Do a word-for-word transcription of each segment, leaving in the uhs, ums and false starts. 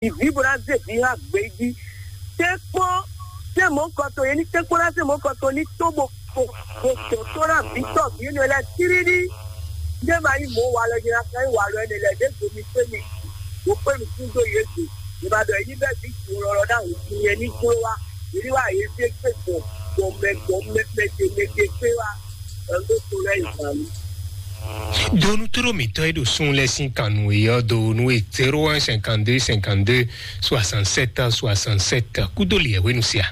vǐ bó ná zé vǐ hã gbě jí. Tɛ́nkpɔ́n zé mɔ̌ kɔtɔn, yě ní tɛ́nkpɔ́n ná zé mɔ̌ kɔtɔn ní tó bó kpo bó dɔn tó ná vǐ tɔ́ vǐ énɛ́ lɛ́ɛ tíríɖí. Ndé ma nyí mɔ̌ walɔ nyina ká nyí walɔ énɛ́ lɛ́ɛ ɖěvo mi kpé mi bó kpé nukún dó yě gbe. Yě ma ɖɔ yě ní bɛ́ vǐ jǔ lɔlɔ ná hǔn nyɛ ní jló wá. Yě ní wá yě zé gbé gbɔn gbɔn mɛ gbɔn mɛ mɛ ce mɛ ce kpé wá. Ɛn ɖó to lɛ́ɛ yi zǎn mì. Donu tló mǐtɔn e ɖo sun lɛ́ɛ sín kan nú e ɔ́, donu e zéro un cinquante deux cinquante deux soixante sept soixante sept. Kúdó li ɛ hwenu sia.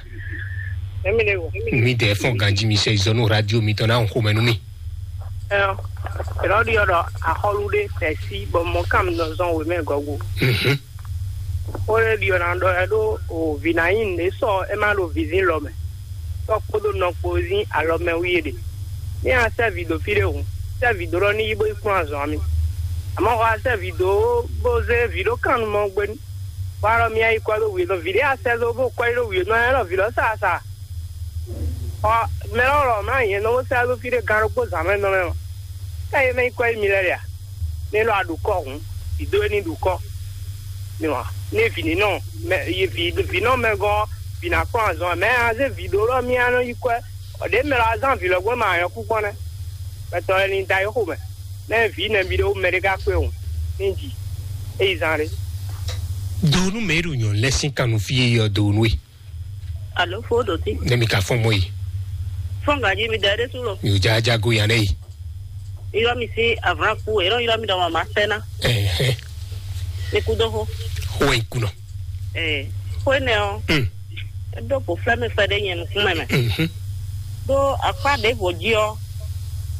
Emi le wo. Mi dɛ fɔn ganji mi sɛ zɔnu radio mi tɔn na xomɛ nú mi. Ɛn, ɛlɔ ɖi ɔdɔ axɔlu ɖe tɛsi bɔ mɔ kam nɔ zɔn wemɛ gɔgu. Mhm. Ó lé ɖi ɔna ɖɔ ɛ ɖó o vǐ ná nyi nǔ e sɔ ɛ má ɖo vǐzín lɔ mɛ. Tɔ́ kpódó nɔ kpó zín alɔ mɛ wú yé ɖe. Ní a sɛ́ vǐ dó fí ɖé hǔn, sɛ́ vǐ dó ɖɔ ní yi bó yi kplɔ́n azɔ̌ ami. Àmọ́ xɔ a sɛ́ vǐ dó bó zé vǐ ɖó kan nú mɔ gbé. Bó alɔ mi ayi kɔ ɖó wǐ nɔ vǐ ɖé a sɛ́ dó bó kɔ yi ɖó wǐ nɔ ɛ lɔ vǐ lɔ sa sa. Xɔ mɛ lɔ lɔ mlá nyɛ nɔ bó sɛ́ dó fí ɖé gan ɖokpó zǎn mɛ nɔ mɛ mɔ. Ká yé mɛ yi kɔ yi mi lɛ ɖe a? Ní lɔ a ɖu kɔ hǔn, vǐ dó é ní ɖu kɔ. Ní wa ní vǐ ní nɔ mɛ yi vǐ vǐ nɔ mɛ gɔ́n vǐ ná kplɔ́n azɔn mɛ a zé vǐ ɖó lɔ mí a nɔ yi kɔ ɛ. Ɔ ɖě mɛ lɔ a zán vǐ lɔ gbɔn ma nyɔ kú kpɔ́n nɛ́. Mɛtɔn lɛ ní da yi xo mɛ. Nɛ́ vǐ nɛbí ɖé mɛ ɖé ka kpé o ní ji é yi zán ɖé. Donu mɛ ɖo nyɔ lɛ sín kanu fí yé yɔ donu e. Alo fo ɖo tí. Ne mi ka fɔn mɔ yi. Fɔn gaji mi da ɖé sú lɔ. Mi ò já já go yan ɖe yi. Iyɔ mi sí avlan kú èrò iyɔ mi ɖɔ mama fẹ́ ná. Ɛhɛn. Ní kú dó xó. Xó ɛ kunɔ. Ɛɛ xó énɛ́ ɔ́. Mm. Eɖó ƒo flɛ́ mɛ fɛ ɖé nyɛ nukúnmɛ mɛ. Mhm. Ɖó akpá ɖěvo jí ɔ́,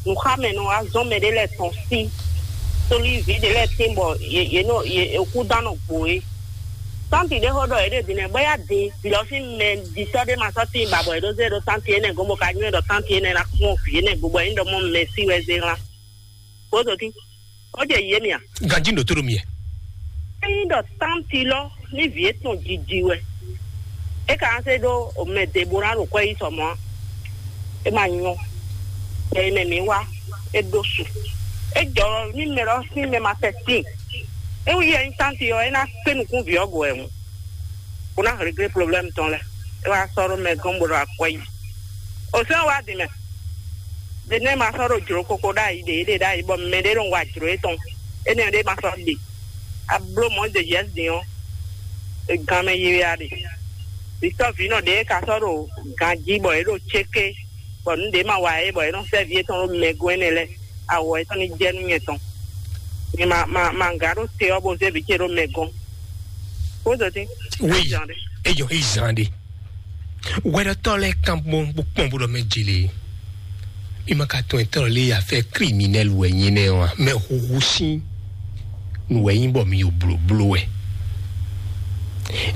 nǔxámɛ nɔ wá zɔ́n mɛ ɖé lɛ́ɛ tɔn sí. Tóli vǐ ɖé lɛ́ɛ tín bɔ yě yě nɔ yě kú dán nɔ gbo é. Tánti ɖé xó ɖɔ yě ɖe din nɛ bɔ yá din vǐ ɔ́ sín mɛ ɖitɔ́ ɖé ma sɔ́ tín ba bɔ yě ɖó zé ɖó tánti énɛ́ gɔ́n bó ka nywɛ́ ɖɔ tánti énɛ́ ná kpɔ́n vǐ énɛ́ gbo bɔ é nyí ɖɔ mɔ mɛ sí wɛ zé hlán. Kódó tín. Ó jɛ yě mì a? Ganjí ɖo tó ɖo mi ɛ. Ényí ɖɔ tánti lɔ ní vǐ étɔn jiji wɛ, é ka ná se ɖó mɛ ɖěbó ná ɖo kwɛ yí sɔ mɔ̌ a? É ma nyɔ. Bɛ̌ mɛ mǐ wá, é ɖó su. É jɔ ní mɛ lɔ sín mɛ ma tɛ tíin. É wú yɛ nyí tánti ɔ́, é ná kpé nukún vǐ ɔ́ go wɛ hǔn, bó ná réglé problème tɔn lɛ́ɛ. É wá sɔ́ ɖó mɛ gɔ́n bó ɖo akwɛ́ yí. O sɛ́n wá din mɛ. Ɖe nɛ́ ma sɔ́ ɖo jlǒ koko ɖ'ayǐ ɖě ɖe ɖ'ayǐ bɔ mɛ ɖé nɔ wa jlǒ étɔn. Énɛ́ ɖé ma sɔ́ ɖe. A bló mɔ̌ ɖe Jɛ́si din ɔ́, e gan mɛ yiyi a ɖe. Vǐtɔ́ vǐnɔ ɖě e ka sɔ́ ɖo ganjí bɔ é ɖo céké, bɔ nǔ ɖě ma wa é bɔ é nɔ sɛ́ vǐ étɔn ɖó mɛ gɔ́n énɛ́ lɛ́ɛ, awɔ étɔn ní jɛ nú nyɛ tɔn. Mi ma ma ma gǎ ɖó te ɔ́ bó zé vǐ ce ɖó mɛ gɔ́n. Kódó dín. Oui. Ejɔ yi zan ɖe. Wɛɖɔtɔ́ lɛ́ɛ kan bó bó kpɔ́n bó ɖɔ mɛ jele. Mi ma ka tɔn etɔ́ lé afɛ kriminɛli wɛ nyɛ nɛ ɔ́ a? Mɛ huhu sín nǔ wɛ nyí bɔ mi yo blóbló wɛ.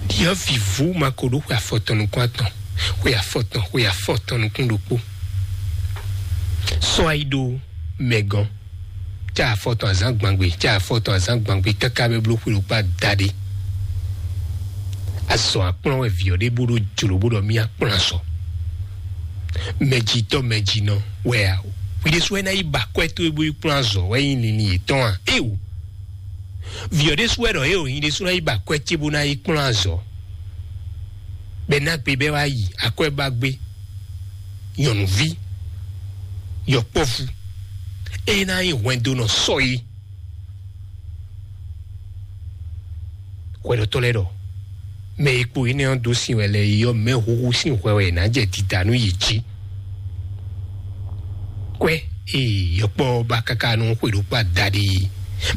Ɖiɔ vǐvú ma ko ɖó xwe afɔtɔn nukún atɔn, xwe afɔtɔn, xwe afɔtɔn nukún ɖokpó. Sɔ ayi ɖó mɛ gɔ́n. Cá afɔtɔn azǎn gbangbe, cá afɔtɔn azǎn gbangbe káká bɛ bló xwe ɖokpó adaɖé. Azɔ akplɔ́n wɛ vǐ ɔ́ ɖe bó ɖó jlǒ bó ɖɔ mì akplɔ́n azɔ. Mɛjitɔ́ mɛjinɔ wɛ a? Hwi ɖésú wɛ ná yi ba kwɛ́ towe bó yi kplɔ́n azɔ wɛ nyí linlin yětɔn a? Éwo! Vǐ ɔ́ ɖésú wɛ ɖɔ éwo nyi ɖésú ná yi ba kwɛ́ ce bó ná yi kplɔ́n azɔ. Bɛ ná gbe bɛ wá yi akwɛ́ ba gbé. Nyɔ̌nuví yɔkpɔ́vú, é ná nyí hwɛndónɔ sɔ é. Hwɛɖɔtɔ́ lɛ́ɛ ɖɔ mɛ e kpo énɛ́ ɔ́ dó sin wɛ lɛ́ɛ é ɔ́, mɛ huhu sín hwɛ wɛ è nǎ jɛ dida nú yě jí. Kwɛ́ e yɔkpɔ́ ba káká nú xwe ɖokpó adaɖé é,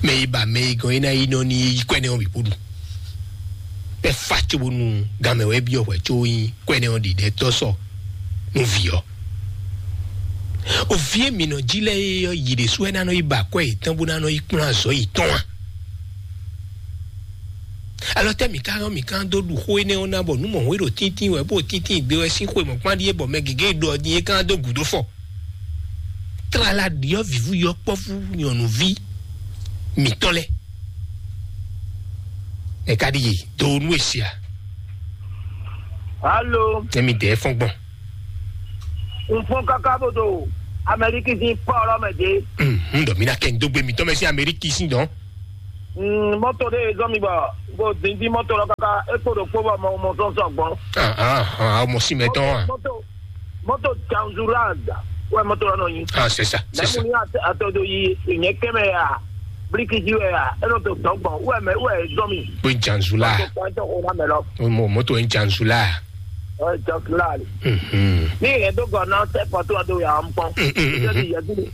mɛ e ba mɛ e gɔn é ná yi nɔ ní yi kwɛ́ nɛ́ ɔ́ bǐ kpó ɖu. Bɛ́ fá cóbónú ganmɛ wɛ byɔ́ hwɛ có nyí kwɛ́nɛ ɔ́ ɖiɖɛ tɔ́ sɔ nú vǐ ɔ́. O vǐ e mǐ nɔ jí lɛ́ɛ é ɔ́, yě ɖésú wɛ ná nɔ yi ba akwɛ́ yětɔn bó ná nɔ yi kplɔ́n azɔ̌ yětɔn a? Alɔ tɛ́ mǐ ka ɔ́, mǐ ka dó ɖu xó énɛ́ ɔ́ ná bɔ nǔ mɔ̌ e ɖo tíntín wɛ bó ɖo tíntín gbe wɛ sín xwe mɔ̌kpán ɖíe bɔ mɛ gěgé ɖɔ din é ka dó gǔdo fɔ. Tlala ɖiɔ vǐvú yɔkpɔ́vú nyɔ̌nuví mǐtɔn lɛ́ɛ. Ɛ ka ɖi yi do nú e sia. Alo. Emi dɛ fɔn gbɔn. N fɔn kaka bó do Amɛriki sín pɔ́ ɔlɔ mɛ dé. N ɖɔ mi na kɛ n dó gbe mi tɔn mɛ sí Amɛriki sín dɔn. Mm, mɔto ɖe zɔn mi bɔ ko dindin mɔto lɔ kaka e kpo ɖo kpo bɔ mɔ mɔ sɔn sɔ gbɔn. Ah, ah, ah, mɔ si mɛ tɔn a. Mɔto mɔto janzura wɛ mɔto lɔ nɔ yi. Ah, c'est ça, c'est ça. Lɛmu ni ato do yi nyɛ kɛmɛ ya bliki ji wɛ ya e nɔ to dɔn gbɔn wɛ mɛ wɛ zɔn mi. Ko janzula. Mɔto kan tɔ o na mɛ lɔ. Mo moto en janzula. Ɔ janzula le. Mhm. Ni yɛ do gɔ na tɛ pɔtɔ do ya n pɔn. Mm, mm, mm, mm. Yɛ dili.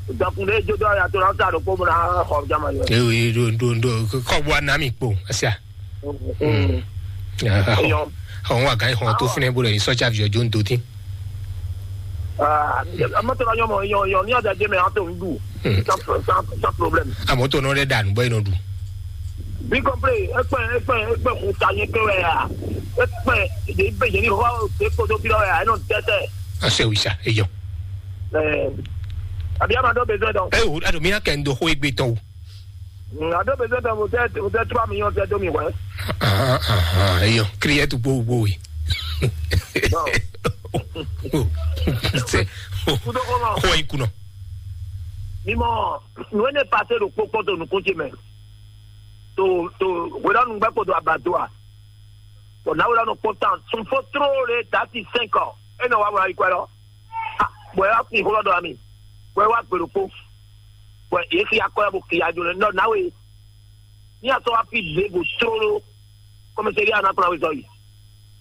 Dɔkun ɖe jó dɔ ya to na sa ɖo kpo bɔ na xɔ jama yɔ. Ewe do do do kɔ bɔ na mi kpo asia. Mm. Eyɔn. Àwọn àgá ìhàn tó fúnẹ bó lè ní sọ́jà fi ọjọ́ ń do tí. Mɔtò la yɔn mɔ yɔn yɔn ní ọjà jẹ mẹ àtò ń dù. Sans sans problème. Àmọ́ tó náà rẹ̀ dànù bọ́ iná dù. Bí kọ́pẹ́ ẹ̀pẹ́ ẹ̀pẹ́ ẹ̀pẹ́ kò ta yẹn pé wẹ̀ yà ẹ̀pẹ́ ìdè ìbè yẹn ní hɔ ṣe kótó bí lọ́wọ́ yà ẹ̀ náà tẹ́tẹ́. Àṣẹ òrìṣà èèyàn. Àbí àmàdó bẹ̀rẹ̀ dán. Ẹ wò adùn mi á kẹ́ ń do hó egbe tán o. Ado bezwe tɛ mo tɛ mo tɛ trois millions tɛ do mi wɛ. Ahan, ahan, eyɔ, kriɛ tu gbogbo yi. Sɛ Kudo kɔnɔ. Xɔ yi kunɔ. Mimɔ, nue ne pase ɖo kpokpɔ to nukun ce mɛ. To to wɛrɛ nu gbɛ kpo do abadoa. Bɔn na wɛrɛ nu kpɔntan sun fo tro le dati cinq ans. E nɔ wa wɛrɛ yi kwɛ lɔ. Bɔn e wa kun xó lɔ dɔ ami. Bɔn e wa gbe ɖokpo. Bɔn e xia kɔ ya bo xia jo ne nɔ na we. Ní a sɔ́ wá fí lěvo tlóló, kɔmɛsɛ́rí a nǎ kplɔ́n wezɔ́ yi.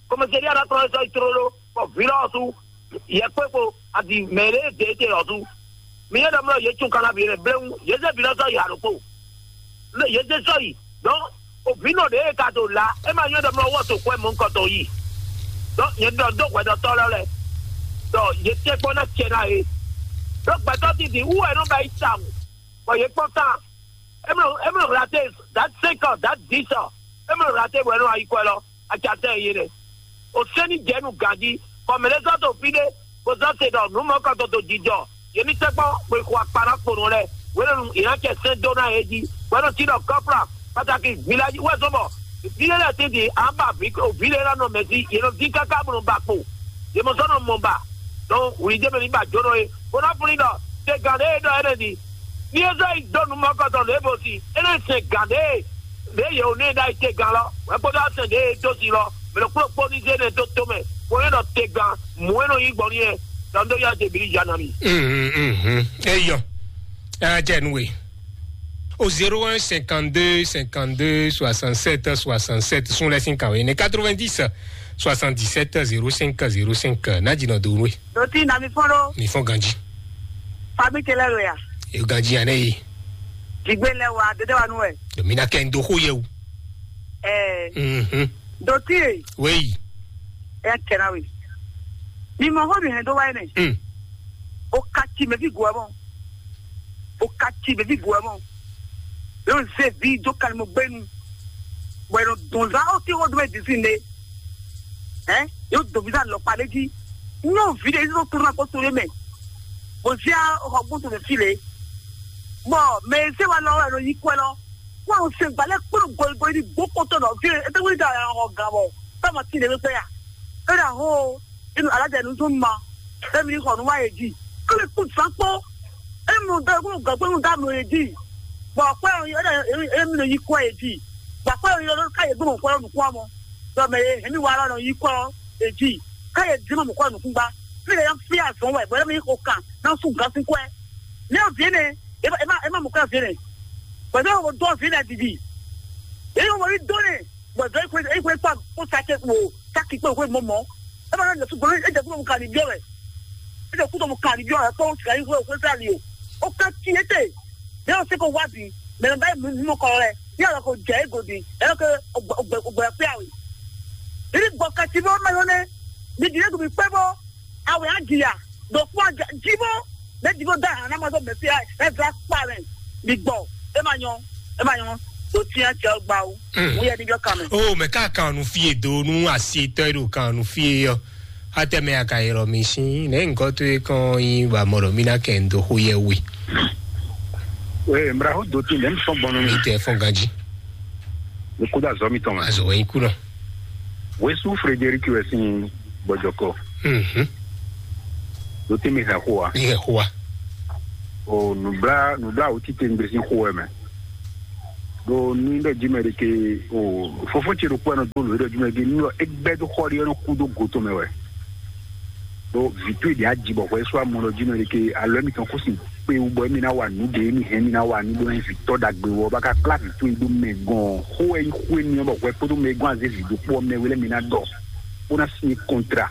Kɔmɛsɛ́rí a nǎ kplɔ́n wezɔ́ yi tlóló, bɔ vǐ lɔ ɔ́ sú, yɛ kpé kpo, adi mɛ ɖé dě te ɔ́ sú. Mi nyɔ́ ɖɔ mlɔ́ yě tún kanna vǐ lɛ́ɛ bléwún, yě zé vǐ lɔ sɔ́ yi ǎ ɖokpó. Lé yě zé sɔ́ yi, dɔn, o vǐ nɔ ɖě e ka to la, é ma nyɔ́ ɖɔ mlɔ́ wɔ to kwɛ mɔ̌hunkɔtɔn yi. Dɔn, nyɛ ɖɔ dó hwɛɖɔtɔ́ lɛ́ɛ lɛ́ɛ, ɖɔ yě tɛ́nkpɔ́n ná cɛ ná yě. Ɖó gbɛtɔ́ titi wú wɛ nɔ ba yi tawun, bɔ yě kpɔ́n tán. Emlo emlo raté dat cinq ans, dat dix ans. Emlo raté bɔ ɛnɔ ayi kɔ lɔ, atsatɛ ye nɛ. O sɛni jɛ nu ganji, kɔmɛlɛ sɔ to fi ɖe, ko sɔ se ɖɔ nu mɔ kɔ to to jijɔ. Yemi tɛgbɔ ko xɔ akpa na kpo nɔ lɛ. Wɛlɛ nu ina cɛ sɛn do na ye ji. Wɛlɛ ti ɖɔ kɔpla, pataki village wɛ sɔmɔ. Vile lɛ ti di aba vi o vile la nɔ mɛsi, ye nɔ di kaka bɔ nɔ ba kpo. Ye mɔ sɔ nɔ mɔ ba. Donc wuli jɛ mɛ ni ba jo nɔ ye. Ko na funi ɖɔ te gan ɖe e ɖɔ ɛnɛ di. Ní e zɔ yi dó nú mɔkɔtɔn lě bó si, é nɔ sɛn gǎn ɖé, ɖě yě wǒ nú e ɖ'ayǐ te gán lɔ, wɛ kpódó asɛn ɖě e dó si lɔ, mɛ ɖokpó ɖokpó ní zé nɛ dó tomɛ, bó nɔ́ ɖɔ te gán, mǔ e nɔ nyí gbɔn n'i wɛ, dɔn dó yá jɛ bǐ ní ya ná mi. Mhm, mhm. Eyɔ. Ɛ jɛ nu we. Au zéro un cinquante-deux cinquante-deux soixante-sept soixante-sept, sun lɛ sin kan we ne quatre-vingt-dix soixante-dix-sept zéro cinq zéro cinq. N'a jìnnà dòwú we. Dòtí nà mi fɔ́n ɖó. Mi fɔ́n ganji. Fami ce lɛ lo ya. Yo ganji ya ne yi. Jigbe lɛ wa dede wa nu wɛ. Domi na kɛ n do xo yɛ o. Ɛɛ. Mhm. Dòtí ye. Weyi. Ɛ kɛra we. Mi mɔ xɔ mi hɛn dó wa yi nɛ. Mm. O ka ci mɛ fi gu ɛ mɔ. O ka ci mɛ fi gu ɛ mɔ. Yo ze vi do kan mo gbenu. Bɔ e nɔ dɔn zan o ti xɔ do mɛ disi ne. Ɛ yo dɔn vi zan lɔ kpa ɖe ji. Nyɔ vi ɖe yi to na kɔ to ɖe mɛ. Bɔ zia o xɔ gbɔn to mɛ fi le. Bɔ mɛ se wa lɔ wɛ nɔ yi kɔɛ lɔ. Kó àwọn ṣe ìgbálẹ̀ kúrò gbogbo ní gbókòtò náà fi ètò wíńdà àwọn ọ̀gá wọ̀. Táwọn tí ìdẹ́gbẹ́ pẹ́ yà. Ó dà hó inú alájà inú tó ń ma. Fẹ́mi ní kọ̀ọ̀nù wáyé jì. Kó lè kú sápó. Èmi ò dá kúrò gàn pé ń dá mi òye jì. Bọ̀ pé èmi ló yí kọ́ ẹ̀ jì. Bọ̀ pé èmi ló káyè gbọ́n kọ́ lọ́nù kú àmọ́. Lọ́mọ yẹn èmi wà lọ́nà yí kọ́ ẹ̀ jì. Káyè dín mọ̀ kọ́ nùkún gbá. Fi lè yan fi àzọ́ wẹ̀ bọ́lá mi kò kàn náà sùn gán sí kọ́ ẹ̀. Ní òbí ni ẹ má ẹ má mú ká fi rìn. Pẹ̀lú àwọn ọdún ọ̀fìn náà dìdì. Èyí wọ́n rí dóni. Bọ̀dọ̀ ikú ikú ikú kó sáké wò sáké pé òkú mọ̀ mọ́. Ẹ bá lọ́nà tó gbọ́n ẹ jẹ́ kúrò mú kàní bí ọ̀rẹ́. Ẹ jẹ́ kúrò mú kàní bí ọ̀rẹ́ kó sìkà yín kúrò kó sàlì o. Ó ká tí é tè. Bí wọ́n ṣe kó wá bí mẹ̀rẹ̀ báyìí mú mú kọ́ rẹ̀. Bí ọ̀rọ̀ kò jẹ́ égòdì. Ẹ lọ́kẹ́ ògbẹ́ pé àwẹ̀. Ìdí gbọ̀n kàtí bí wọ́n máa yọ ní. Bí ìdílé kò fi pẹ́ bọ́. Awe á jìyà ɖo kpɔ́n jibó ne jibó da hàn námɔ tó mɛsí ɛ vla kpa rɛ mi gbɔ. E ma nyɔ, e ma nyɔ. To tiɲɛ cɛ gba o. Mo yɛ ni jɔ kan mɛ. O mɛ ká kan nu fie do nu asi tɔ ɖo kan nu fie yɔ. Atɛmɛ aka yɛlɛ mi si ne nkɔ to ye kɔn yi ba mɔ ɖɔ mi na kɛ n do xo yɛ we. Ee mra ho do ti lɛ n fɔn bɔnɔ mi. Mi tɛ fɔn ganji. Mi kudo azɔ mi tɔn ma. Azɔ wɛ yi kunɔ. Wesu Frederic wɛ sin gbɔjɔkɔ. Mhm. Ɖo te mi hɛn xó wa. Mi hɛn xó wa. O nubla nubla awu tite ŋgbe sin xó wɛ mɛ. Ɖo ní ɖɔ jí mɛ ɖeke o, fofó ce ɖokpó ɛnɔ dó lǒ ɖɔ jí mɛ ɖeke ní ɖɔ é gbɛ́ dó xɔ ɖé ɔ́ nɔ kú dó go tɔn mɛ wɛ. Ɖo vǐ towe ɖě aji bɔ hwɛ sú amɔ ɖɔ jí mɛ ɖeke alɔ émítɔn kó sin kpé wú bɔ émí ná wa nǔ ɖě émí hɛn émí ná wa nǔ ɖó ná nyí vǐ tɔ́ ɖagbe wɔ bá ka kplá vǐ towe dó mɛ gɔn xó wɛ nyí xó émí ɔ́ bɔ hwɛ kpódó mɛ e gɔ́ azé vǐ ɖokpó ɔ́ mɛ wé lɛ́ɛ mi ná ɖɔ bó ná sin kɔntra.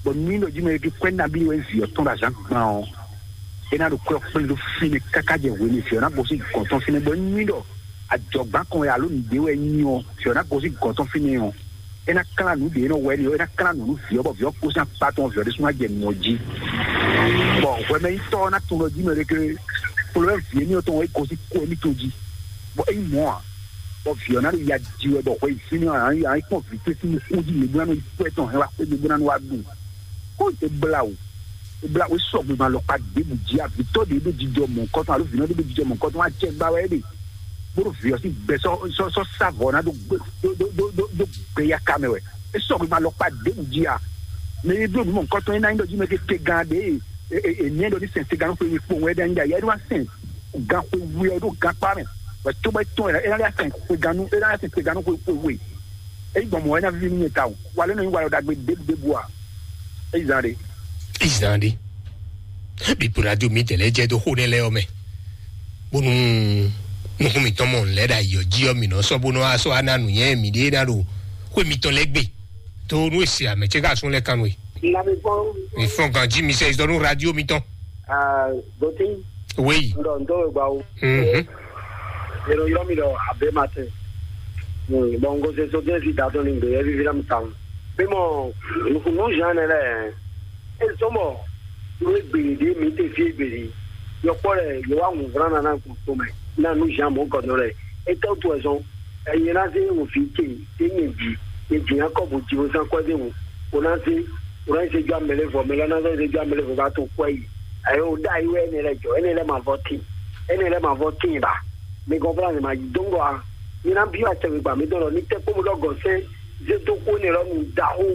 Bɔ ní ɖɔ jí mɛ ɖeke kwɛ́ nabí wɛ vǐ ɔ́ tɔn ɖo azǎn gban ɔ́, é ná ɖo kwɛ́ ɔ́ kplé ɖó fínɛ́ káká jɛ hwenu e vǐ ɔ́ ná gosín gɔ̌n tɔn fínɛ́ bɔ é nyí ɖɔ ajɔ̌gbán kan wɛ alo nǔɖé wɛ nyí ɔ́, vǐ ɔ́ ná gosín gɔ̌n tɔn fínɛ́ ɔ́, é ná klán nǔ ɖě nɔ wɛ ni ɔ́, é ná klán nǔ nú vǐ ɔ́ bɔ vǐ ɔ́ gosín akpá tɔn vǐ ɔ́ ɖésú ná jɛ nǔ ɔ́ jí. Bɔ hwɛmɛnyitɔ́ ɔ́ ná tunwun ɖɔ jí mɛ ɖé ké kplɔ́ vǐ émí ɔ́ tɔn wɛ é gosín kú émítɔn jí, bɔ é nyí mɔ̌ ǎ, bɔ vǐ ɔ́ ná ɖo ya ji wɛ bɔ hwɛ yi fínɛ́ ɔ́, ǎ nyí kpɔ́n vǐ towe sín nukún jí mɛ bó ná nɔ yi kú ɛtɔn hɛn wá xwé mɛ bó ná nɔ wá ɖu. Kó é blá wǔ, é blá wǔ é sɔgbe ma lɔkpa ɖěbǔ jí avítɔ́ ɖě ɖo jijɔ mɔ̌kɔtɔn alo vǐnɔ ɖé ɖo jijɔ mɔ̌kɔtɔn wá jɛ gbá wɛ é ɖe. Bó ɖo vǐ ɔ́ sín gbɛ sɔ́ sɔ́ sɔ́ sá vɔ̌ ná ɖó gbé ɖó ɖó ɖó ɖó ɖó gbeyaka mɛ wɛ. É sɔgbe ma lɔkpa ɖěbǔ jí a. Mɛ e bló nǔ mɔ̌kɔtɔn é ná nyí ɖɔ jí mɛ kéké gán ɖě e e e nɛ́ ɖɔ ní sɛn segannú xwe yi kpowun é ɖo anyí ɖe ayɛ é ɖó wá sɛn gan xwe we ɔ́ ɖo gankpá mɛ. Wɛ cóbɔ é tɔn é ná lɛ́ sɛn xwe gannú é ná lɛ́ sɛn segannú xwe xwe we. É nyí gbɔn mɔ̌ wɛ ná víví nú nyɛ tawun. Wa lɛ́ nɔ nyí walɔ ɖagbe ɖěbǔ ɖěbǔ a? É yi zán ɖe. Izan ɖe. Bíbu radio mi tɛlɛ jɛ do xó nɛ lɛ ɔmɛ. Bónú nukún mi tɔn mɔ lɛ ɖa yɔ jí ɔ mi nɔ sɔ bónú asɔ ana nu yɛ mi ɖe na ɖo xó mi tɔn lɛ gbe. To nu esi ame tse ka sun lɛ kanu e. Lamɛgbɔn. Mi fɔn ganji mi sɛ izɔ nu radio mi tɔn. Goti. Oui. Ndɔ ndɔ gba o. Mhm. Yɛrɛ yɔ mi dɔ abe ma tɛ. Bon, ngo se so den si da to ni gbe yɛ vivi na mi ta. Bí mo, nukunu Jean ne lɛ. E sɔmɔ, lo egbe ɖe mi te fi egbe ɖe. Yɔkpɔ lɛ, yɔ wa ŋun vran na na kun to mɛ. Na nu Jean mo kɔnɔ lɛ. E tɔ to ɛzɔn. Eye na se wo fi ke, se nye vi. Nye vi na kɔ bo ji wo san kɔ de wo. O na se, o na se jo amele vɔ, mele na se jo amele vɔ ba to kɔ yi. Ayo da yi we ne lɛ jɔ, ene lɛ ma vɔ tin. Ene lɛ ma vɔ tin ba. Mi gɔn fla ne ma yi dongo a. Mi na bi wa tɛ mi gba mi dɔn lɔ ni tɛ kpɔmɔ dɔ gɔsɛ. Zetoxo énɛ́ lɔ nu daxo.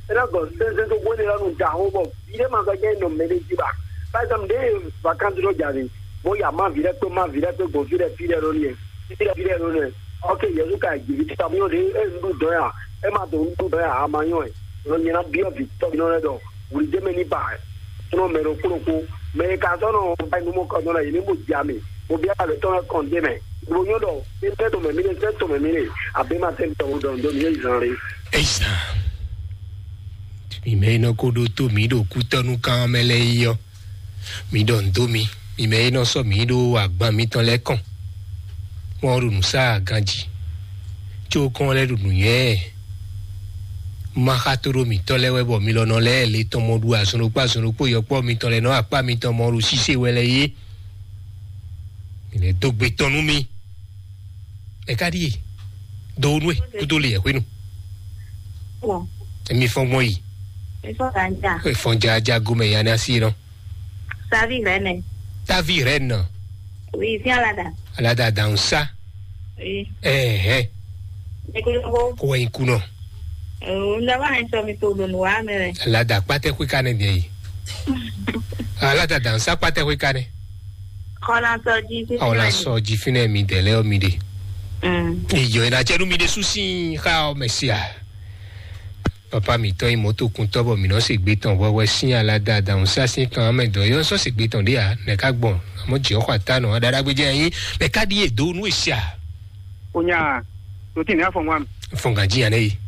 Énɛ́ gɔn sɛnsɛn toxo énɛ́ lɔ nu daxo bɔ vi ɖé ma sɔ́ jɛ nɔ mɛ ɖé jí ba. Par exemple, ɖé vacances ɖo jǎ ɖe, bó ya má vi ɖé kpé má vi ɖé kpé gbɔn fí ɖé fí ɖé ɖo nìyẹn, fí ɖé fí ɖé ɖo nìyẹn. Ok, Yesu ka ji vi tamiɔ ɖe, e nu ɖu dɔn ya, e ma do nu ɖu dɔn ya, a ma nyɔ ɛ. Nɔ nyɛ na biɔ vi tɔ nɔ lɛ dɔ, wuli jɛ mɛ ni ba ɛ. Tɔnɔ mɛ ɖo kplɔn ko, mɛ ka sɔ nɔ ba nu mɔ kɔ nɔ la, yi ni mo ja mi, mo bia le tɔnɔ kɔn de mɛ. Mo nyɔ dɔ, e tɛ to mɛ mi ne, tɛ to mɛ mi ne, a be ma tɛ tɔ dɔn do mi ye zan le. Eisa. Mi mɛ e nɔ ko ɖo to mi ɖo kutɔnu kan mɛ lɛ yi ɔ. Mi ɖɔ ndo mi. Mi mɛ e nɔ sɔ mi ɖo agban mitɔn lɛ kɔn. Mɔ ɖo nǔ sa ganji. Tso kɔn lɛ ɖo nǔnywɛ. Ma xa to ɖo mitɔ lɛ wɛ bɔ mi lɔ nɔ lɛ le tɔn mɔ ɖu azɔn ɖokpó azɔn ɖokpó yɔkpɔ mitɔn lɛ nɔ akpa mitɔn mɔ ɖo sise wɛ lɛ yé. Mi lɛ do gbe tɔn nú mi. Ɛ ka ɖíe. Do nú ɛ kúdó le yɛ hwenu. Bon, Emi fɔn gbɔn yi. Ifɔ ganja. Efɔn jaja gomɛ ya na si nɔ. Savi rɛnɛ. Tavi rɛnɛ. Oui, viens là-dedans. Alada dansa. Oui. Ɛhɛ. Ekoloko. Ko wɛ ikunɔ. Ndaba ŋa sɔ mi to ɖo nǔ wa mɛ wɛ. Alada kpatɛ xwe ka ne bia yi. Alada dansa kpatɛ xwe ka ne. Kɔla sɔ ji fi. Awla sɔ ji fi ne mi dɛlɛ o mi de. Mm. Iyo ina jɛ nu mi de susi xa o mesia. Papa mǐtɔn nyí mɔ̌tokuntɔ́ bɔ mǐ nɔ se gbe tɔn hwɛhwɛ sín alada adǎhúnsá sín kan mɛ dɔ̌ yɔ́ sɔ́ se gbe tɔn ɖé ǎ, nɛ̌ ká gbɔn? Amɔ̌ jǐ ɔ́ xɔ atá nɔ aɖaɖagbéjɛ nyí, nɛ̌ ká ɖíe dǒ nú e se a? Onya, ɖo tí nɛ̌ afɔ ŋwa mi? Fɔngǎn jí ǎ nɛ́ yi.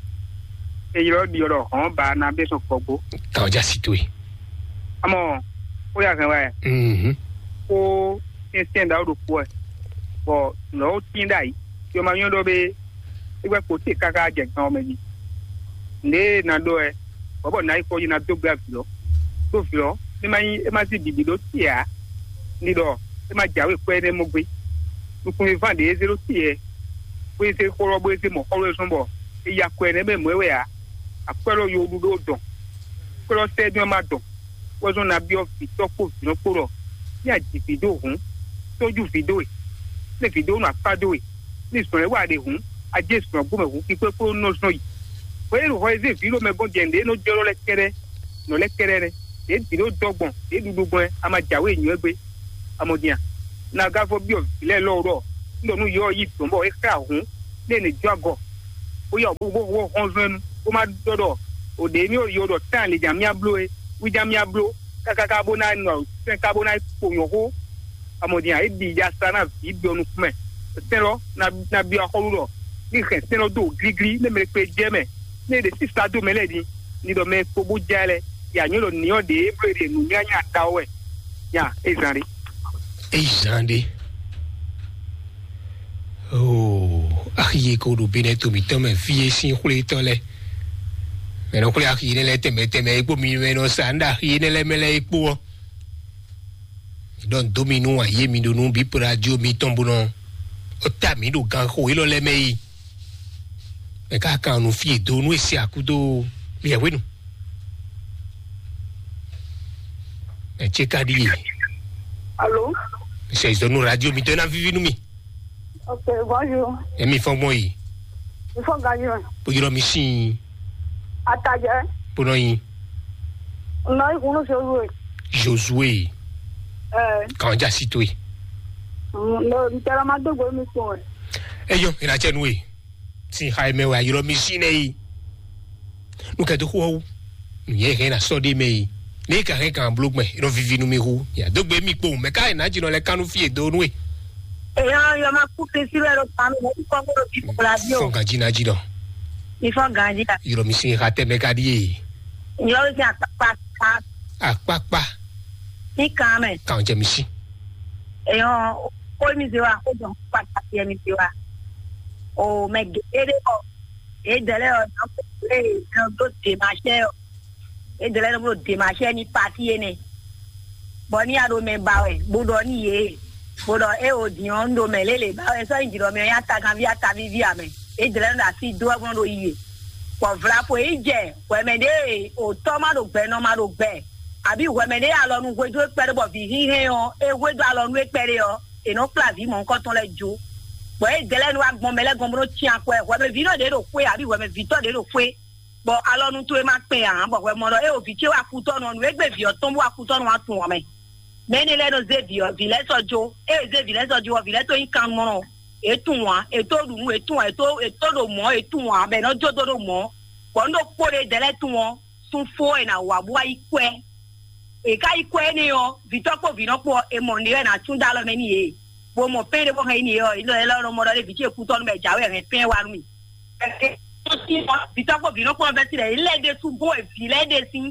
Eyilɔ ɖiɔ ɖɔ hɔn ba na bɛ sɔn kɔgbó. Kan ɔ́ já sí towe. Amɔ, ó yà hɛn wá ɛ. Mhm. Kó tɛ́ntɛ́n ɖaxó ɖokpó ɛ, bɔ nɔ̌ ó tín ɖ'ayǐ. Yɔ ma nyɔ́ ɖɔ bé, é gbɛ́ kpo te káká jɛ gan ɔ́ mɛ jí. Nǔɖé e na ɖɔ ɛ, bɔ̌ bɔ nǎ yi kpɔ́ yi ná dó gbé avǐ lɔ. Ɖó vǐ lɔ, é má nyí é má sí bǐbí ɖó te ǎ. Ní ɖɔ é má jǎwe kwɛ́ énɛ́ mɔ gbé. Nukúnmɛ ván ɖě é zé ɖó te ɛ, bó é zé xó lɔ bó é zé mɔ̌ xɔ lɔ é zɔ́n bɔ é ya kwɛ́ énɛ́ mɛ mɔ̌ é wɛ ǎ. Akwɛ́ lɔ yo ɖu ɖó dɔn. Kwɛ́ lɔ sɛ́ dɔn é má dɔn. Wɛ zɔ́n ná byɔ́ vǐtɔ́ kpó vǐnɔ kpó ɖɔ ní a ji vǐ dó hǔn, tójú vǐ dó we, ní vǐ dó nɔ akpá dó we, ní zɔn e wa ɖe hǔn, a jɛ zɔn gbɔmɛ hǔn kpíkpé kpó nɔ zɔn yi. Hwɛ e ɖo hɔ e zé vǐ ɖo mɛ gɔ́n jɛ nǔɖé nɔ jɔ lɔ lɛ́ kɛ́ɖɛ́, nɔ lɛ́ kɛ́ɖɛ́ nɛ́. Ɖě vǐ ɖó dɔ́ gbɔn, ɖě ɖuɖu gbɔn, a ma jǎwe nyɔ̌ gbé. Amɔdin a? Nagá vɔ byɔ́ vǐ lɛ́ɛ lɔ ɖɔ Un ɖɔ nú yɔ ɔ́ yi dɔ̌n bɔ é xlɛ́ ahǔn, nú è nǐ jó agɔ, bó yɔ bó bó bó hɔn zɔn ɛ nu, bó má ɖɔ ɖɔ o ɖě émí yɔ ɖɔ tán lě ján mía bló é, wí ján mía bló kákáká bó ná nɔ sɛn ká bó ná kpo nyɔ̌ xó. Amɔ̌ din ǎ, é ɖi ya sa ná vǐ ɖɔ nukún mɛ. Sɛn lɔ ná ná byɔ́ axɔ́lú ɖɔ ní hɛn sɛn lɔ dó gíglí, ní mɛ kpe jɛ mɛ, ní è ɖe sísá dó mɛ lɛ́ɛ din, ní ɖɔ mɛ kpo bó jɛ lɛ, yǎ nyɔ́ ɖɔ nǐ ɔ́ ɖě é bló é ɖe nǔnywányá da ɔ́ wɛ. Nya é zán ɖé. Eyi zan ɖe. Oo, axi e ko ɖo benɛ to mǐtɔn mɛ fí e sín xwlétɔ́ lɛ́ɛ. Mɛ nɔ xwlé axi énɛ́ lɛ́ɛ tɛnmɛ tɛnmɛ e kpó mi mɛ nɔ sa nǔ ɖo axi énɛ́ lɛ́ɛ mɛ lɛ́ɛ e kpó ɔ́. Mi ɖɔ nǔ dó mi nú ayé mi ɖo nú bǐ radio mitɔn bó nɔ ó ta mǐ ɖo ganxo élɔ́ lɛ́ɛ mɛ yi. Mɛ ká kan nǔ fí e do nú e se akúdo liɛhwenu. Mɛ ce ka ɖíe. Alo? Sɛ zɔnu radio mi dɔn na vivi nú mi. Ok, bonjour. Emi fɔn gbɔn yi. Ifɔ gayi mɛ. Bó yɔrɔ mi sin. Atajɛ. Bó nɔ yin. Nɔ ikun ní Josué. Josué. Ɛ. Kàn já sí tó yi. Nɔ ntɛrɛ ma dógbo mi kpɔn ɛ. Eyɔ, ìrànṣẹ́ nu e. Sin xa mɛ wɛ ayɔrɔ mi sin nɛ yi. Nukɛ dó xó ɔ́ wú. Nǔnyɛ hɛn na sɔ́ ɖé mɛ yi. Ní ka hɛn kan bló gbɛn, é nɔ vivi nú mi hú. Ya dó gbe mì kpowun, mɛ ká yě ná jínɔ lɛ kánú fí e dó nú e. Èèyàn yọ máa kú Kristi rẹ̀ ló pa mí, mo kú kọ́ gbọ́dọ̀ bí kòkòrò àbí o. Fɔ́n ganjí ná jínɔ. Mi fọ́n ganjí la. Yọ̀rọ̀ mi sin xa tẹ́ mɛ ká díye. Yọ̀rọ̀ mi sin àpápá. Àpápá. Ní kan mɛ. Kàn jẹ mi sí. Èèyàn kó mi zé wa, kó jọ pàtàkì ẹni zé wa. O mɛ gègé dé bọ̀. Èdè lẹ́yìn ọ̀dọ́ kó lè lọ dó dèmàṣẹ́ ọ̀. Edlɛ́ ɖo ɖo dèmàṣɛ ní pati énɛ́, bɔ ní a ɖo mɛ ba wɛ, bó ɖɔ ní yě, bó ɖɔ é o din ɔ́, un ɖo mɛ lélẹ̀ ba wɛ, sɔ́ nyi jǐ ɖɔ mɛ ɔ́ nyí ataganví atavíví ǎ mɛ. Edlɛ́ ɖo asi dó wɛ bó nɔ ɖo yi e, bɔ vlapo yi jɛ hwɛmɛ ɖé, o tɔ́ ma ɖo gbɛ, nɔ ma ɖo gbɛ, àbí hwɛmɛ ɖé alɔ nú hwedó é kpɛɖé bɔ vǐ hínhɛ́n ɔ́, é hwedó alɔ nú é kpɛɖé ɔ́, è nɔ kplá vǐ mɔ̌hunkɔtɔn lɛ́ɛ jó. Bɔ Edlɛ́ wá gbɔn mɛ lɛ́ɛ gɔ́n bó nɔ cyán akwɛ́, hwɛmɛ vǐ nɔ ɖě ɖo xwé, àbí hwɛmɛ vǐtɔ́ ɖě ɖo xwé, bɔ alɔnu towe ma kpɛn ǎ, bɔ hwɛ mɔ ɖɔ é o vǐ ce wá kutɔ́nú ɔ́, nǔ e gbé vǐ ɔ́ tɔn bó wá kutɔ́nú wá tunwun ɔ́ mɛ. Mɛ̌ énɛ́ lɛ́ɛ nɔ zé vǐ ɔ́, vǐ lɛ́ɛ sɔ́ jó, ée è zé vǐ lɛ́ɛ sɔ́ jó ɔ́, vǐ lɛ́ɛ tó nyí kannumɔnɔ, è tunwun ǎ, è tó ɖu nǔ, è tunwun ǎ, è tó è tó ɖo mɔ̌, è tunwun ǎ, bɔ è nɔ jó dó ɖo mɔ̌, bɔ nǔ ɖokpó ɖé dɛ̌ lɛ́ɛ tunwun ɔ́, sun fó è nǎ wa bó wá yi kwɛ́. È ká yi kwɛ́ énɛ́ ɔ́, vǐtɔ́ kpó vǐnɔ kpó ɔ́, è mɔ nǔɖé wɛ è nǎ tún dó alɔ mɛ n'i yě, bó mɔ pɛ́n ɖé bó hɛn yi n'i ɔ́, é lɔ é lɔ nɔ mɔ ɖɔ lé vǐ ce kútɔ́nú mɛ jǎwe hɛn pɛ́n wá nú mì. Ɛ, ɛ, ɛ, vǐtɔ́ kpó vǐnɔ kpó ɔ́ vɛ́ sí lɛ̌, yě lɛ́ ɖésú bó e vǐ lɛ́ɛ ɖe sín.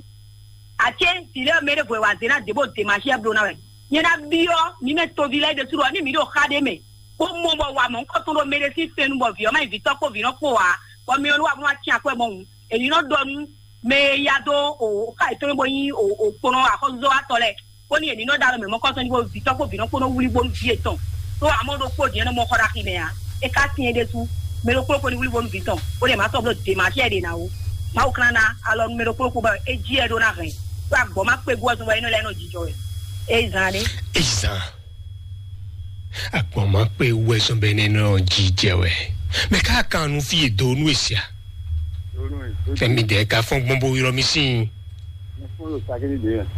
Aké vǐ lɛ́ɛ mɛ ɖěvo e wa zě ná dě bó de ma xyɛ bló ná wɛ. Nyɛ ná byɔ́ mi mɛ toví lɛ́ɛ ɖésú ɖɔ ní mi ɖo xá ɖé mɛ, bó mɔ bɔ wa mɔ̌hunkɔtɔn ɖo mɛ ɖé sín fɛn nu bɔ vǐ ɔ́ má nyí vǐtɔ́ kpó vǐnɔ kpó ǎ, bɔ mi ɔ́ nú wa bó ná cyán akwɛ́ mɔhun. Èyí nɔ ɖɔ nú mɛ e ya dó o xá yětɔn bó nyí o kponɔ axɔ́súzɔ́watɔ́ lɛ́ɛ, bónú yě ní nɔ ɖó alɔ mɛ mɔ̌kɔ́tɔn jí bó vǐtɔ́ kpó vǐnɔ kpó nɔ wlí bónú vǐ yětɔn. Ɖó amɔ̌ ɖokpó din ɔ́ nɔ mɔ xɔ ɖo axi mɛ ǎ. É ka syɛ́n ɖésú, mɛ ɖokpó ɖokpó ní wlí bónú vǐ tɔn, bó ɖe mǎ sɔ́ bló dě ma xyɛ ɖě ná ó. Mawu klán ná alɔ nú mɛ ɖokpó ɖokpó bɔ é jí ɛ ɖó ná hɛn. Ɖó agbɔ̌ má kpé gú ɔ́ zɔn bɔ é nɔ lɛ́ nɔ jijɔ wɛ. É zán ɖé. Ezan. Agbɔn ma kpe wɛ sɔn bɛ ne nɔ jijɛ wɛ. Mɛ ka kan nu fi do nu esia. Fɛmi dɛ ka fɔn gbɔn bo yɔrɔ mi sin.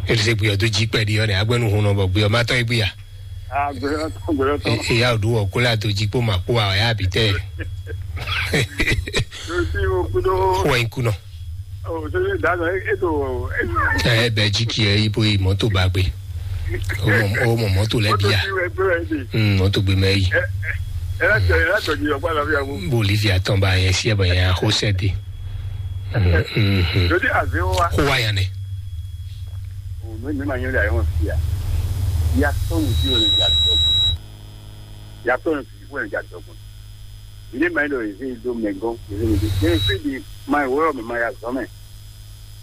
Ese gbe ɔdo ji kpɛ di ɔnɛ agbɛnu hun nɔ bɔ gbe ɔma tɔ egbe ya. Eya o do wɔ kola do ji kpo ma kpo a ya bi tɛ. Wɔ in kunɔ. Ɛ bɛ ji ki ɛ ibo yi mɔto ba gbe. O mɔ o mɔ mɔto lɛ bia. Hmm, mɔto gbe mɛ yi. Bo livia tɔn ba yɛ si ɛ bɛ yɛ ho sɛ de. Ko wa yan ne. Ya tɔn si wɛ ne ja dɔgbọn. Ilé ma yi ɖo eze do mɛ gɔn eze mi do. Eze fi di ma yi wɔ mɛ ma ya zɔn mɛ.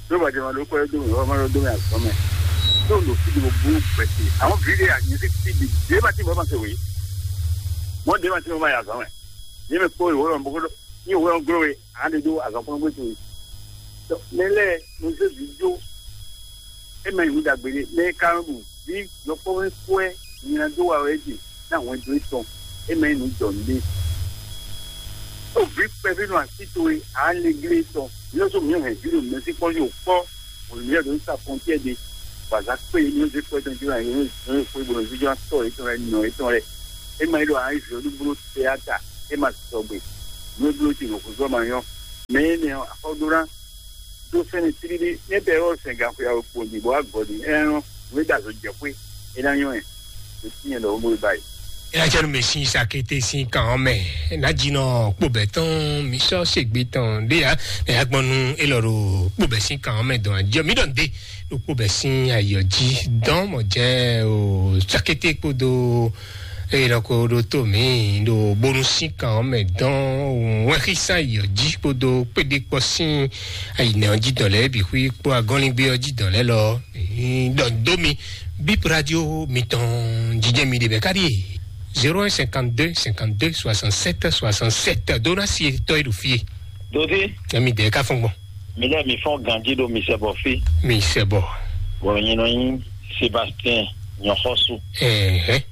Tó bàjẹ́ ma ɖó kọ́ dó mi wɔ ma ɖó dó mi azɔn mɛ. Tó ɖo fi di mo bú gbɛ̀tì. Àwọn fi di a nyɛ fi fi di dé ma ti bọ́ ma se wòye. Mɔ dé ma ti bọ́ ma ya zɔn mɛ. Ní mi kpó ìwé lɔ bó ní ìwé lɔ glo we. Àwọn de do azɔn kpɔn gbé to yi. Mɛ lɛ mo se vi do. E ma yi wu dagbe de. Mɛ ka ɖu. Vǐ yɔkpɔ́vú kú wɛ nyi ná dó wa wɛ é ɖe ná hwɛndo étɔn, é mɛ nyí nǔ jɔ nǔɖé. Ɖó vǐ kpɛví nɔ así towe ǎ lé glé étɔn, nyɔ́ só mǐ hɛn vǐ ɖo mɛsínkpɔ́n yí wǒ kpɔ́, bɔ mǐ lɛ́ ɖo ní sa fɔntiɛ ɖe, bɔ azǎn kpé yě nyɔ́ zé kpɔ́ étɔn jí wá nyɔ́ nyɔ́ xwé bó nɔ zíjɔ́ ná tɔ́ yětɔn lɛ́ɛ nɔ yětɔn lɛ́ɛ. É ma yi ɖo ayizɔ́ɖubló tɛáta, é ma sɔgbe. Nǔ e bló ce ɖo xwezɔ́ ma nyɔ́. Mɛ énɛ́ ɔ́, axɔ́ ɖó ná dó sɛ́n mì tlílí. Nɛ́ bɛ́ ɔ́ sɛn gan xwe awe kpo ɖi bɔ wá gɔ́ ɖi. Ɛ́n ɔ́, nǔ e ɖo azɔ̌ jɛ xwé, é ná nyɔ́ ɛ. Ɖo tínyɛ ɖɔ wóbó e ba yi. Eya cɛ nu mɛ sin sakété sin kan ɔ́ mɛ. Ná dzi nɔ kpó bɛ̌ tɔn mi sɔ́ segbe tɔn ɖé ya. Nɛ ya gbɔn nu élɔ́ ɖo kpó bɛ̌ sin kan ɔ́ mɛ dɔn ajɔ mi ɖɔ ndé ɖo kpó bɛ̌ sin ayɔ jí dɔn mɔ jɛ o sakété kpódó eye lɔ ko ɖo tó mi ɖo bónú sin kan ɔ́ mɛ dɔn wɛnxísán ayɔ jí kpódó kpéɖé kpɔ sín ayinɛ ɔ́ jí dɔn lɛ́ɛ bǐ xwí kpó agɔnlingbe ɔ́ jí dɔn lɛ́ɛ lɔ. Ɖɔ dó mi bip radio mitɔn jijɛ mi ɖe bɛ káɖí e zéro un cinquante deux cinquante deux soixante sept soixante sept dó ná si etɔ́ e ɖo fie. Dodi, Emi dɛ ka fɔn gbɔn. Mi lɛ mi fɔn ganji ɖo mi sɛ bɔ fi. Mi sɛ bɔ. Bɔ nyi nɔ nyi Sébastien nyɔxɔsu. Ɛhɛ.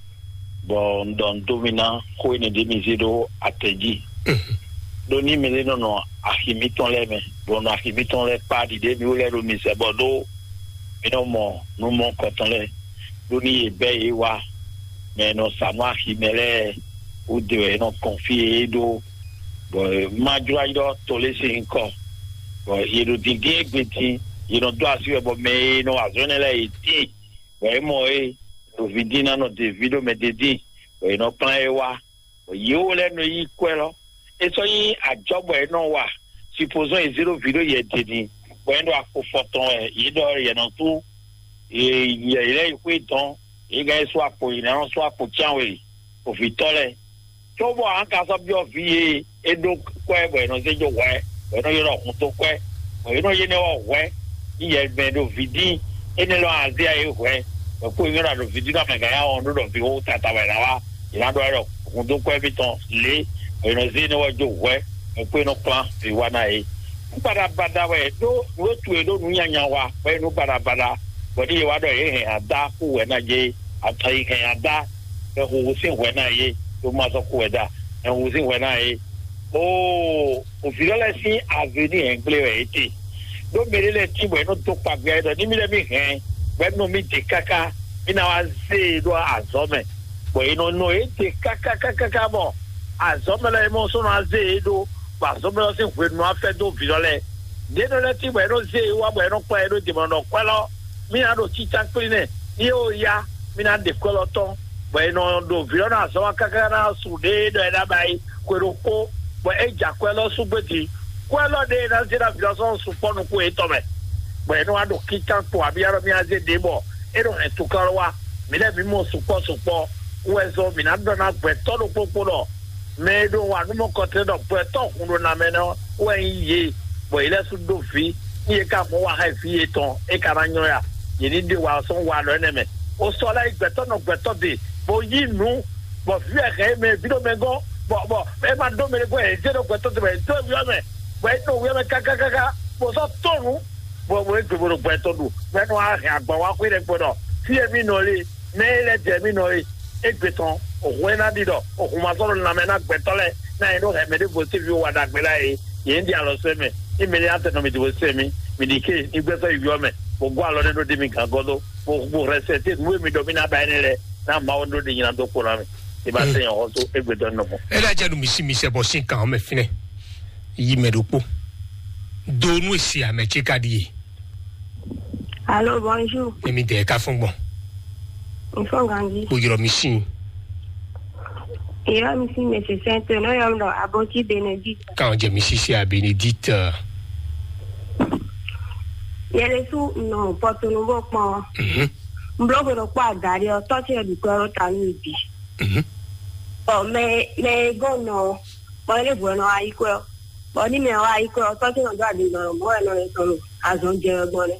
Bɔ n dɔ n dó mi ná xó énɛ́ ɖé mi zé ɖó atɛ jí. Mhm. Ɖó ní mi lé nɔ nɔ axi mǐtɔn lɛ́ɛ mɛ, bɔ nɔ axi mǐtɔn lɛ́ɛ kpá ɖiɖe mi wó lɛ́ɛ ɖo mi sɛ bɔ ɖó mi nɔ mɔ nú mɔ kɔtɔn lɛ́ɛ, ɖó ní yě bɛ́ yě wá, mɛ e nɔ sa nú axi mɛ lɛ́ɛ wú de wɛ é nɔ kɔn fí e é ɖó, bɔ má jló ayi ɖɔ to lé sín nyǐkɔ, bɔ yě ɖo dǐndín égbé dín, yě nɔ dó así wɛ bɔ mɛ e nɔ wa azɔ̌ énɛ́ lɛ́ɛ yě tíin, bɔ é mɔ é ɖo ví dín ná nɔ de ví ɖó mɛ d'é dín, bɔ yě nɔ kplán é wá. Yěwo lɛ́ɛ nɔ yí kwɛ́ lɔ. É sɔ́ nyí ajɔ̌ bɔ é nɔ wa. Supozɔ́n è zé ɖó vǐ ɖó yɛ din, bɔ é ɖo akpo fɔtɔn wɛ, yě ɖɔ yɛ nɔ sú yɛ yě lɛ́ yi xwé tɔn, yě gán yi sú akpo yě ná nɔ sú akpo cyánwe, ovǐtɔ́ lɛ́ɛ. Cóbɔ a ka sɔ́ byɔ́ vǐ e é ɖó kwɛ́ bɔ è nɔ zé jó hwɛ̌, bɔ è nɔ ylɔ́ hun dó kwɛ́, bɔ è nɔ yé nɛ́ ɔ́ hwɛ̌, ní yɛ mɛ ɖo vǐ dín, énɛ́ lɔ azé a é hwɛ̌, bɔ kó nyɔ́ ɖo vǐ dín nɔ mɛ gǎn ya wɔn ɖó ɖɔ vǐ wó tata wɛ ná wá, è nǎ ɖɔ wɛ ɖɔ hun dó kwɛ́ mítɔn lě, bɔ è nɔ zé énɛ́ ɔ́ jó hwɛ̌, bɔ kó é nɔ kplán vǐ wá ná é. Nú baɖabaɖa wɛ ɖó nǔ e tu è ɖó nǔ nyanya wa, bɔ é nú baɖabaɖa, bɔ ní yě wá ɖɔ yě hɛn adá kú hwɛ̌ ná jɛ é, atɔ yi hɛn adá, bɔ huhu sín hwɛ̌ ná yě, ɖó má sɔ́ kú hwɛ̌ dá, hɛn huhu sín hwɛ̌ ná yě. Oo, òvǐ lɔ lɛ́ɛ sín avenir hɛngble wɛ é te. Ɖó mɛ ɖé lɛ́ɛ tín bɔ é nɔ dó kpagbɛ ɖɔ ní mì lɛ́ mì hɛn, bɔ é nɔ mì de káká, mì ná wá zé e ɖó azɔ̌ mɛ. Bɔ è nɔ nɔ é de kákákákáká bɔ azɔ̌ mɛ lɛ́ɛ é mɔ sɔ́ nɔ wá zé e ɖó, bɔ azɔ̌ mɛ lɛ́ɛ sín hwenu ná fɛ́ dó vǐ lɔ lɛ́ɛ. Ɖě nɔ lɛ́ɛ tín bɔ é nɔ zé e wá bɔ é nɔ kplá ɛ ɖó jǐmɔnɔ kwɛ́ lɔ, mì ná ɖo cícá kplí nɛ, ní é ó yá, mì ná ɖe kwɛ́ lɔ tɔn. Bɔ è nɔ ɖo vǐ lɔ ná azɔn wá káká ná su ɖě ɖɔ é ná ba yi xwe ɖokpó, bɔ é jɛ akwɛ́ lɔ sú gbé din. Kwɛ́ lɔ ɖě e ná zé ná vǐ lɔ sɔ́ sukpɔ́ nukún yětɔn mɛ, bɔ è nɔ wá ɖo kíkán kpo abíyá ɖɔ mì azé ɖě bɔ é nɔ hɛn tukán lɔ wá. Mǐ lɛ́ɛ mǐ mɔ sukpɔ́ sukpɔ́ wú wɛ zɔn mǐ ná ɖɔ ná gbɛtɔ́ ɖokpó kpó ɖɔ mɛ e ɖo wa nú mɔ kɔtɛn ɖɔ gbɛtɔ́ hun ɖo na mɛ nɔ wɛ nyí yě, bɔ yě lɛ́ sú ɖó vǐ, ní yě ka mɔ wa xá vǐ yětɔn, é ka ná nylɔ́ ya. Yě ní ɖe wa sɔ́ wa lɔ énɛ́ mɛ. O sɔ lɛ́ yi gbɛtɔ́ nɔ gbɛtɔ́ de, bó yí nǔ, bɔ vǐ wɛ hɛn é mɛ, vǐ ɖo mɛ gɔ́n, bɔ bɔ é ma ɖó mɛ ɖé gɔ́n, yě zé ɖo gbɛtɔ́ de, bɔ yě dó vǐ ɔ́ mɛ, bɔ é ɖo wǐ ɔ́ mɛ kákákáká, bó sɔ́ tɔ́ nǔ, bɔ bó é gbe bó ɖo gbɛtɔ́ ɖu, bɔ é nɔ wá hɛn agban wá xwé ɖɛkpɛ ɖɔ fí e mì nɔ lé, mɛ e lɛ́ jɛ mì nɔ é, égbé tɔn, òhun e ná ɖi ɖɔ òhun ma sɔ́ ɖo lanmɛ ná gbɛtɔ́ lɛ́ɛ ná nyɛ ɖó hɛ̌ mɛ ɖěvo sín vǐ wó wa ɖagbe lɛ́ɛ é, yě ń ɖi alɔ sɛ́ mɛ. Ní mɛ ní atɛ nɔ mi dìbò sɛ́ mi, mi ɖi ké ní gbɛtɔ́ yi vǐ ɔ́ mɛ, bó gɔ́ alɔ ɖé ɖó dé mi gǎn gɔ́ dó, bó bó hɛn sɛ té nǔ e mi ɖɔ mì ná ba énɛ́ lɛ́ɛ, ná Mawu ɖó ɖi nyina dó kpo ná mi. Ní ma sɛ́ nyɛ xɔ́sú égbé tɔn nɔ mɔ. Ele dze nu mi si mi sɛ bɔ sin kan mɛ finɛ yi mɛ ɖokpo do nu esi ame tse ka ɖi ye. Allô, bonjour. Emi dɛ ka fɔn gbɔn. N fɔn ganji. O yɔrɔ mi sin. Yɔrɔ mi sin mɛ se sɛn to no yɔrɔ mi dɔ abɔti Benedict. Kan jɛ mi sisi a Benedict. Yɛlɛ su nɔ pɔtunu bɔ kpɔn. Mhm. N blo ko ɖo kpɔ adari ɔ tɔ ti yɛ dukɔ ro ta nu bi. Mhm. Ɔ mɛ mɛ gɔn nɔ bɔ ele bu nɔ ayi kɔ. Bɔ ní mɛ wa yi kɔ ɔ tɔ ti nɔ do adi nɔ mɔ wɛ nɔ le tɔn azɔn jɛ gbɔn lɛ.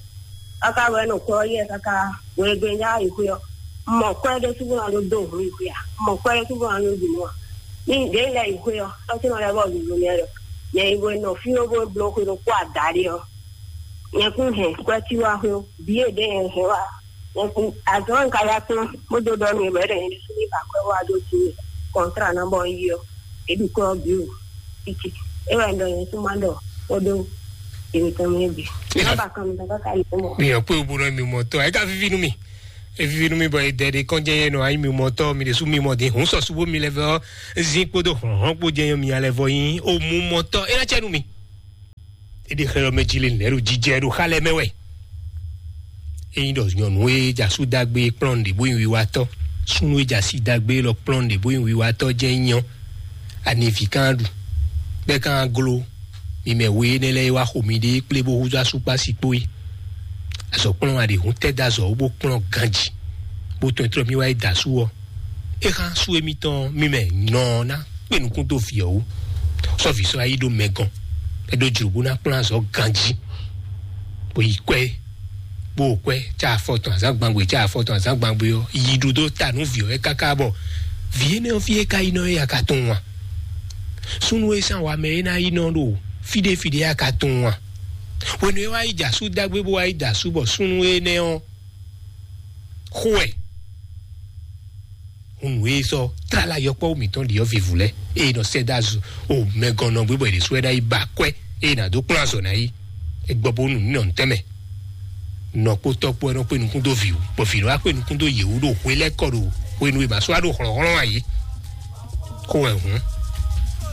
Kaka wɛ nɔ kɔ yɛ kaka wɛ gbɛ nya yi kɔ. Mɔ kɔ de sugu na do do hu yi kɔ ya. Mɔ kɔ de sugu na do du mɔ. Ní de lɛ yi kɔ ɔ tɔ ti nɔ lɛ bɔ du du mɛ lɛ. Yɛ yi wɛ nɔ fi wo bo blo ko do kpɔ adari ɔ. Nyɛ kún hɛn kwɛ́ tí wá xwé ó, bǐ e ɖě nyɛ hɛn wá. Nyɛ kún azɔn ka ya kplɔ́n, bó dó ɖɔ nú mɛ ɖɔ nyɛ ɖésú ní ba kwɛ́ wá dó jí mì kɔntrá ná bɔ un yi ɔ́, é ɖi kwɛ́ ɔ́ bǐ o. Títí é wɛ un ɖɔ nyɛ kún má ɖɔ kpódó èmi tɔn mɛ bǐ. Má ba kan mi tɔn káká yě mɔ. Mi ò pé o bo nɔ mi mɔ tɔ, ẹ ká fífí nú mi. Evivi nú mi bɔ edɛ ɖe kɔn jɛ yɛ nɔ ayi mi mɔtɔ mi ɖe su mi mɔ de hun sɔsu bo mi lɛ vɔ zin kpodo hlɔnhlɔn kpo jɛ yɔ mi alɛ vɔ yin o mu mɔtɔ e na cɛ nu mi. E ɖe xɛ lɔ mɛ ji le nɛ ɖo jijɛ ɖo xa lɛ mɛ wɛ. Eyin ɖɔ nyɔnu e dza su dagbe kplɔn ɖe bo yin wiwatɔ, sunu e dza si dagbe lɔ kplɔn ɖe bo yin wiwatɔ jɛ nyɔ. Ani vi kan ɖu bɛ kan glo mi mɛ we énɛ́ lɛ́ɛ e wá xo mi ɖe kplé bó húzú asúkpá si kpó yi. Azɔ̌ kplɔ́n a ɖe hun tɛ́ dó azɔ̌ wú bó kplɔ́n ganji bó tɔn tlɔ́ mì wá yi da asú ɔ́. É xá sú émítɔn mì mɛ nɔ ná kpé nukún dó vǐ ɔ́ wú. Sɔ́ vǐ sɔ́ yá yi ɖó mɛ gɔn é ɖó jlǒ bó ná kplɔ́n azɔ̌ ganji bó yi kwɛ́ bó kwɛ́ cá afɔ tɔn azǎn gbangbe cá afɔ tɔn azǎn gbangbe ɔ́ yi ɖu dó ta nú vǐ ɔ́ é káká bɔ vǐ énɛ́ ɔ́ fí é ka yi nɔ é ya ka tunwun a? Súnnu e sín awa mɛ é ná yi nɔ ɖo fí ɖé fí ɖé a ka tunwun a? Hwenu e wá yi dza sú dágbé bó wá yi da sú bɔ súnnu énɛ́ ɔ́ xo ɛ. Hunu e sɔ tlala yɔkpɔ́ mǐtɔn ɖi ɔ́ vivǔ lɛ́ eye nɔ sɛ́ dó azu o mɛgɔn nɔ gbé bɔ è ɖě sú ɛ ná yi ba kwɛ́ eye nǎ dó kplɔ́n azɔ̌ ná yi. Egbɔ bó nu nínɔ ntɛ́mɛ nɔ kpó tɔ́ kpó ɛ nɔ kpé nukún dó vǐ wú bɔ vǐ nɔ wá kpé nukún dó yě wú ɖo hwe lɛ́ kɔ ɖo hwenu e mǎ sɔ́ wá ɖo hlɔ̌nhlɔ́n ǎ yé. Xo wɛ hǔn